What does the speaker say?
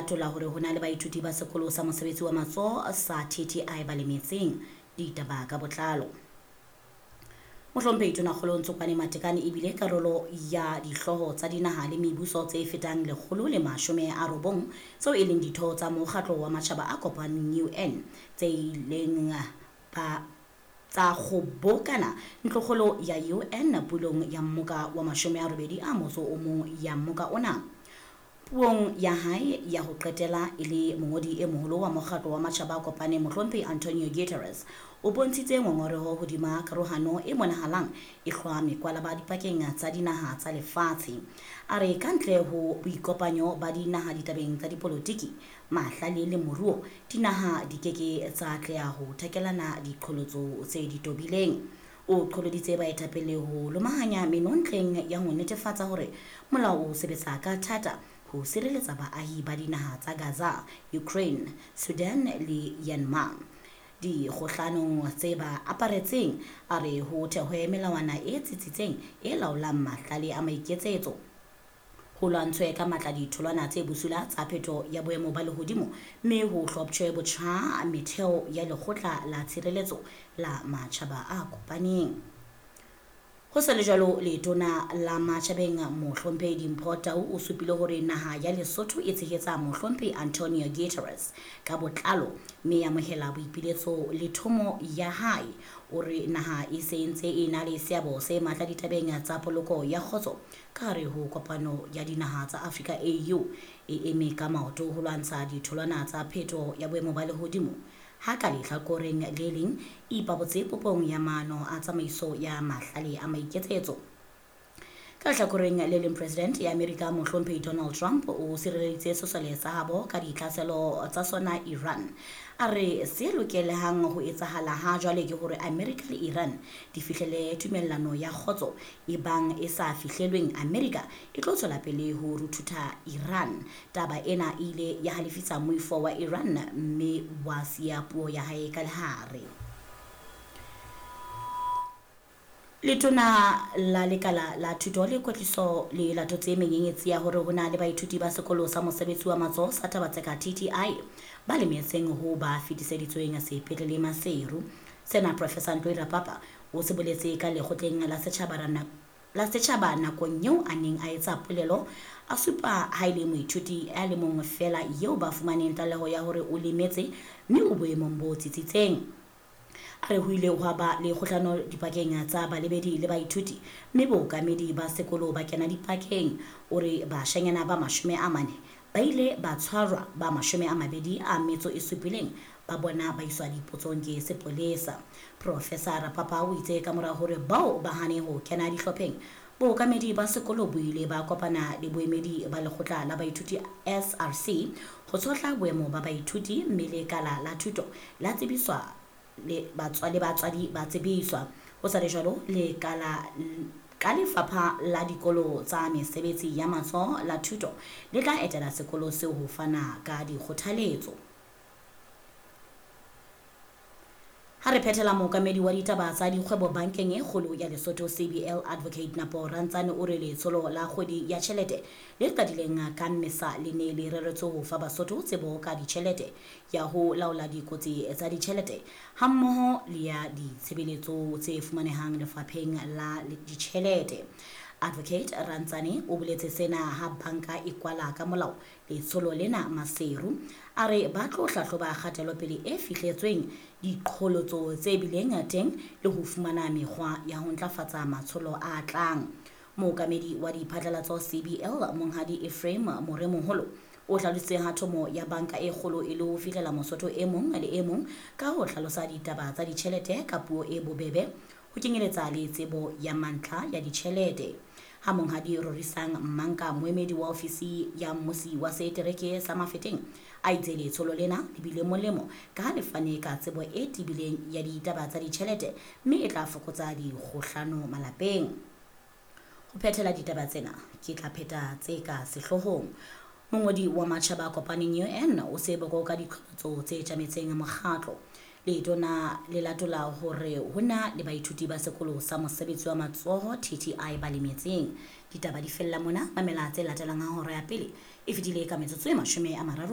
latola hore ho na le baithuti ba sekolo sa mosebetsi wa matsoho sa TTI ba lemetseng. Ditaba ka botlalo. Mohlomphehi Tonakgolo Ntsokoane Matekane ebile karolo ya dihlooho tsa dinaha le mebuso tse fetang 190 tseo e leng ditho tsa mokgatlo wa matjhaba a kopaneng UN tse ileng ba tsa kgobokana ntlokgolo ya UN pulong ya mmoka wa 81 ya mmoka ona. Puong ya hae ya ho qetela e le mongodi e moholo wa mokgatlo wa matjhaba a kopaneng Mohlomphehi Antonio Guterres o bontshitse ngongoreho hodima karohano e bonahalang e hlwa mekwalaba dipakeng tsa dinaha tsa lefatshe. A re ka ntle ho boikopanyo ba dinaha ditabeng tsa dipolotiki, mahlale le moruo, dinaha di keke tsa atleha ho thakelana diqholotso tse di tobileng. O qholoditse baetapele ho lomahanya menontleng ya ho netefatsa hore molao o sebetsa ka thata ho sireletsa baahi ba dinaha tsa Gaza, Ukraine, Sudan le Myanmar dikgohlanong tse ba aparetseng. A re ho thehwe melawana e tsitsitseng e laolang mahlale a maiketsetso, ho lwantshwe ka matla ditholwana tse bosula tsa phetho ya boemo ba lehodimo, mme ho hloptjhwe botjha metheo ya lekgotla la tshireletso la matjhaba a kopaneng. Ho sa le jwalo, letona la matjhabeng Mohlomphehi Dimpho Tau o supile hore naha ya Lesotho e tshehetsa Mohlomphehi Antonio Guterres ka botlalo mme e amohela boipiletso le thomo ya hae. O re naha e se ntse e na le seabo se matla ditabeng tsa poloko ya kgotso ka hare ho kopano ya dinaha tsa Afrika AU e eme ka maoto ho lwantsha ditholwana tsa phetho ya boemo ba lehodimo. Ha ka lehlakoreng le leng e ipabotse popong ya maano a tsamaiso ya mahlale a maiketsetso. Ka lehlakoreng le leng, President ya Amerika Mohlomphehi Donald Trump o sireleditse sesole sa habo ka ditlhaselo tsa sona Iran. A re se lokelehang ho etsahala ha jwale ke hore Amerika le Iran di fihlele tumellano ya kgotso, e bang e sa fihlelweng Amerika e tlo tswela pele ho ruthutha Iran. Taba ena e ile ya halefisa moifo wa Iran mme wa siya puo ya hae ka lehare. Letona la lekala la thuto le kwetliso le latotse menyenyetsi ya hore ho na le baithuti ba sekolo sa mosebetsi wa matsoho sa Tabatseka TTI ba lemetseng ho ba fetiseditsweng sepetlele Maseru. Sena Professor Ntoi Rapapa o se boletse ka lekgotleng la setjhaba nakong eo a neng a etsa polelo, a supa ha e le moithuti a le mong feela eo ba fumaneng tlaleho ya hore o lemetse mme o boemong bo tsitsitseng. A re ho ile hwa ba le kgohlano dipakeng tsa balebedi le baithuti mme bookamedi ba sekolo ba kena dipakeng. O re bashanyana ba 40 ba ile ba tshwarwa, ba 27 ba bona ba iswa dipotsong ke sepolesa. Professor Rapapa o itse ka mora hore bao ba hane ho kena dihlopheng, bookamedi ba sekolo bo ile ba kopana le boemedi ba lekgotla la baithuti SRC ho tshohla boemo ba baithuti, mme lekala la thuto la tsebiswa le batswadi ba tsebiswa. Ho sa le jwalo, lekala ka lefapha la dikolo tsa mesebetsi ya matsoho la thuto le tla etela sekolo seo ho fana ka dikgothaletso. Ha re phethela, mookamedi wa ditaba tsa dikgwebo bankeng e kgolo ya Lesotho CBL Advocate Napo Rantsane o re letsholo la kgwedi ya tjhelete le qadileng ka Mmesa le ne le reretswe ho fa Basotho tsebo ka ditjhelete ya ho laola dikotsi tsa ditjhelete hammoho le ya ditshebeletso tse fumanehang lefapheng la ditjhelete. Advocate Rantsane o boletse sena ha banka e kwala ka molao letsholo lena Maseru. A re ba tlo hlahloba kgatelopele e fihletsweng, diqholotso tse bileng teng le ho fumana mekgwa ya ho ntlafatsa matsholo a tlang. Mookamedi wa diphatlalatso CBL Monghadi Ephraim Moremoholo o hlalositse ha thomo ya banka e kgolo e le ho fihlela Mosotho e mong le e mong ka ho hlalosa ditaba tsa ditjhelete ka puo e bobebe, ho kenyeletsa le tsebo ya mantlha ya ditjhelete. Ha Monghadi Rorisang Mmanka, moemedi wa ofisi ya mmusi wa setereke sa Mafeteng, a itse letsholo lena le bile molemo ka ha le fane ka tsebo e tebileng ya ditaba tsa ditjhelete mme e tla fokotsa dikgohlano malapeng. Ho phethela ditaba tsena, ke tla pheta tse ka sehloohong. Mongodi wa matjhaba a kopaneng UN o se boko ka diqholotso tse tjametseng mokgatlo. Letona le latola hore ho na le baithuti ba sekolo sa mosebetsi wa matsoho TTI ba lemetseng. Ditaba di fella mona, mamela tse latelang ha hora ya pele e fetile ka metsotso e 30.